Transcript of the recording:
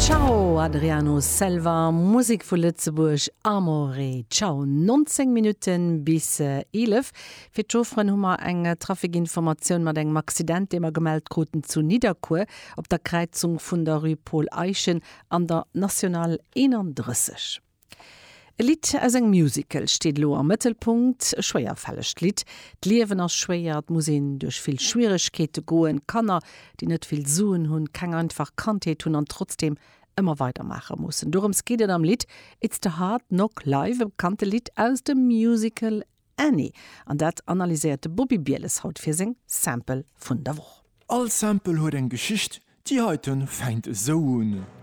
Ciao Adriano Selva, Musek vu Lëtzebuerg, Amore Ciao. 19 Minutten bis 11. Fir d'Chaufferen hu mer eng Trafikinformatioun mat engem Accident, dee mer gemellt kruten zu Nidderkuer op der Kräizung vun der Rue Paul Eyschen an der National 31. E Lidd aus engem Musical steet elo am Mëttelpunkt, e schwéierfällegt Lidd. D'Liewen ass schwéier, et muss een duerch vill Schwieregkeete goen, Kanner, déi net vill Suen hunn, keng einfach Kandheet hunn an trotzdeem ëmmer weidermaache mussen. Dorëms geet et am Lidd It's the Hard Knock Life, e bekannte Lidd aus dem Musical Annie. An dat analyséiert de Bobby Bieles haut fir seng Sample vun der Woch. All Sample huet eng Geschicht, déi heiten fänkt esou un.